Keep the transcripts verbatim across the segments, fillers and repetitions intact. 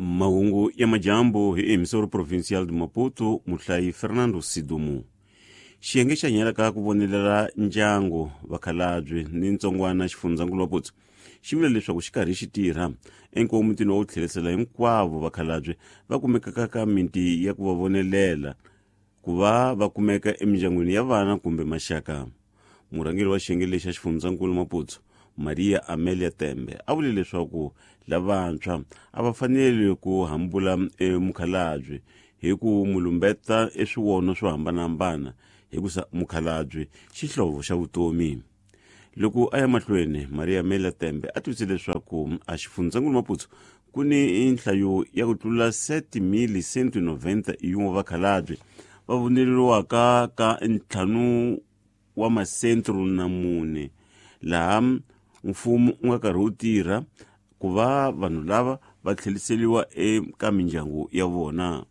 Mahungu ya majambu hi emissoro provincial de Maputo, muhlayi Fernando Sidumu. Xiyenge xa nyelaka ku vonelela ndyangu vakhalabye ni ntsongwana xifundzankulu Maputo xi vula leswaku xi karhi xi tirha enkomitini wa ku tlherisela hinkwavo vakhalabye va kumekaka ka miti ya ku va vonelela ku va va kumeka emindyangwini ya vana kumbe maxaka. Murhangeri wa xiyenge lexi xa xifundzankulu Maputo, Maria Amelia Tembe, a vule leswaku lavantshwa a va fanele ku hambula emukhalabye hi ku mu lumbeta eswivono swo hambanahambana hikusa mukhalabye xihlovo xa vutomi. Loko a ya mahlweni, Maria Amelia Tembe a tivise leswaku a xifundzankulu Maputo ku ni nhlayo ya ku tlula sete mil cento e noventa e um vakhalabye va voneleriwaka ka ntlhanu wa masentro na mune, laha mfumo wu nga karhi wu tirha ku va vanhu lava va tlheriseriwa eka mindyangu ya vona.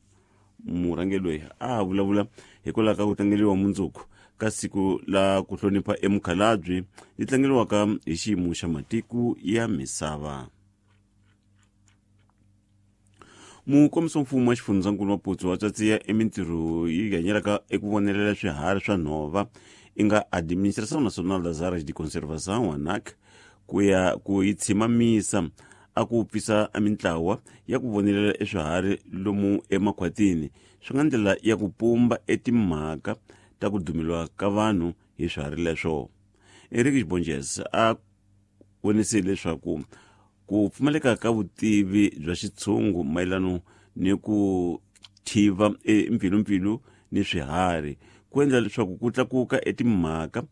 Murhangeri loyi a vulavula hikwalaho ka ku tlangeriwa mundzuku ka siku la ku hlonipha emukhalabye yi tlangeriwaka hi xiyimo xa matiko ya misava. Mukomiso mfumo wa xifundzankulu Maputo wa tsatsiya emintirho yi hanyelaka eku vonelela swiharhi swa nhova i nga Administração Nacional das Áreas de Conservação, ANAC, ku ya ku yi tshimamisa a ku pfisa mintlawa ya ku vonelela eswiharhi lomu emakhwatini swi nga ndlela ya ku pumba etimhaka ta ku dumeliwa ka vanhu hi swiharhi leswo. Eric Bonges a vonise leswaku ku pfumaleka ka vutivi bya xitshungu mayelana ni ku thiva empfilumpfilu ni swiharhi ku endla leswaku ku tlakuka etimhaka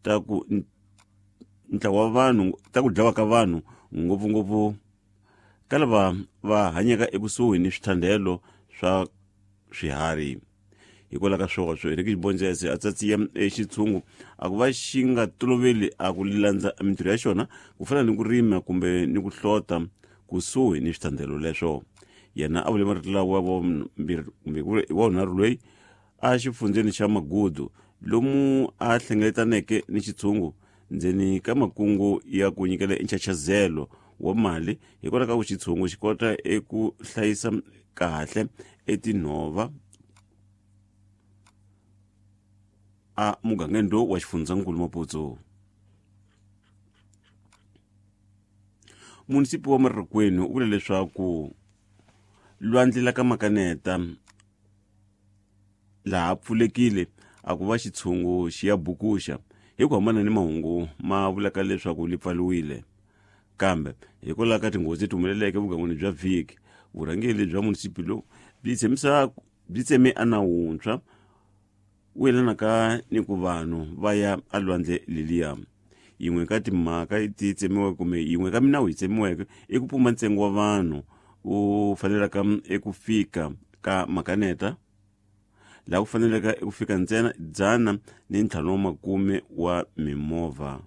ta ku ntlawa wa vanhu ta ku dlawa ka vanhu ngopfungopfu ka lava va hanyaka ekusuhi ni swithandelo swa swiharhi. Hikwalaho ka swoswo, Eric Bonges a tsatsiya exitshungu a ku va xi nga toloveli a ku landza mintirho ya xona ku fana ni ku rima kumbe ni ku hlota kusuhi ni swithandelo leswo. Yena a vule marito lawa wa vumbirhi kumbe wa vunharhu loyi a xifundzeni xa Magudu lomu a hlengeletaneke ni xitshungu ndzeni ka makungu ya ku nyikela enchachazelo wa mali hikwalaho ka ku xitshungu xi kota eku hlayisa kahle etinhova a mugangeni lowu wa xifundzankulu Maputo. Munisipi wa Marikweni u vule leswaku lwandle la ka Makaneta laha pfulekile a ku va xitshungu xi ya bukuxa hi ku hambana ni mahungu ma vulaka leswaku li pfaliwile. Kambe hikwalaho ka tinghozi leti humeleleke vugangwini bya vhiki, vurhangeri bya munisipi lowu byi tshembisa byi tseme a nawu wuntshwa wu yelanaka ni ku vanhu va ya alwandle leliya. Yin'we ka timhaka ti tsemiweke kumbe yin'we ka minawu yi tsemiweke i ku pumba ntsengo wa vanhu wu fanelaka eku fika ka Makaneta, laha ku faneleka eku fika ntsena dzana ni ntlhanu wa makume wa mimovha.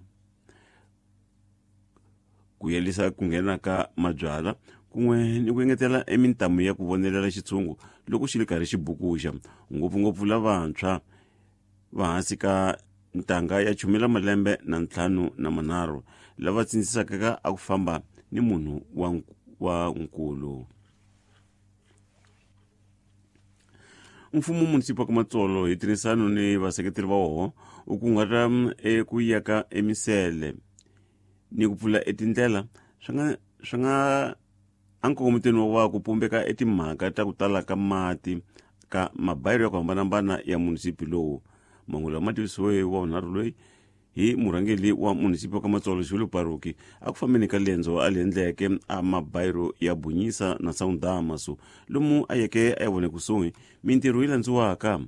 Ku yelisa ku nghena ka mabyala kun'we ni ku engetela emintamu ya ku vonelela xitshungu loko xi ri karhi xi bukuxa, ngopfungopfu lavantshwa va hansi ka ntanga ya chumela malembe na ntlhanu na manharhu lava tsindzisaka ka a ku famba ni munhu wa wa nkulu. Mfumo munisipi wa Matsolo hi tirhisano ni vaseketeri va woho u kunguhata eku yaka emisele ni ku pfula etindlela swi nga swi nga ankongomitweni wa ku pumbeka etimhaka ta ku tala ka mati ka mabayiro ya ku hambanahambana ya munisipi lowu. Mahungu lama ma tivisiwe wa vunharhu loyi hi murhangeri wa munisipi wa ka Matsolo Julio Paruki a ku fambeni ka lendzo a li endleke a mabayiro ya Bunyisa na Sawundamaso lomu a yeke a ya vone kusuhi mintirho yi landziwaka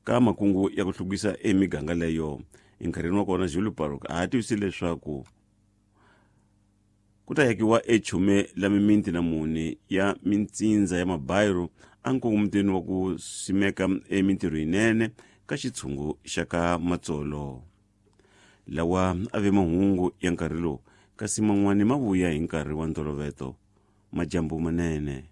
ka makungu ya ku hluvukisa emiganga leyo. Enkarhini wa kona Julio Paruki a tivise leswaku ku ta yakiwa echume la mimiti na mune ya mintsindza ya mabayiro a nkongomitweni wa ku simeka emintirho yinene ka xitshungu xa ka Matsolo. Lawa a ve mahungu ya nkarhi lowu kasi man'wani ma vuya hi nkarhi wa ntoloveto. Majambu manene.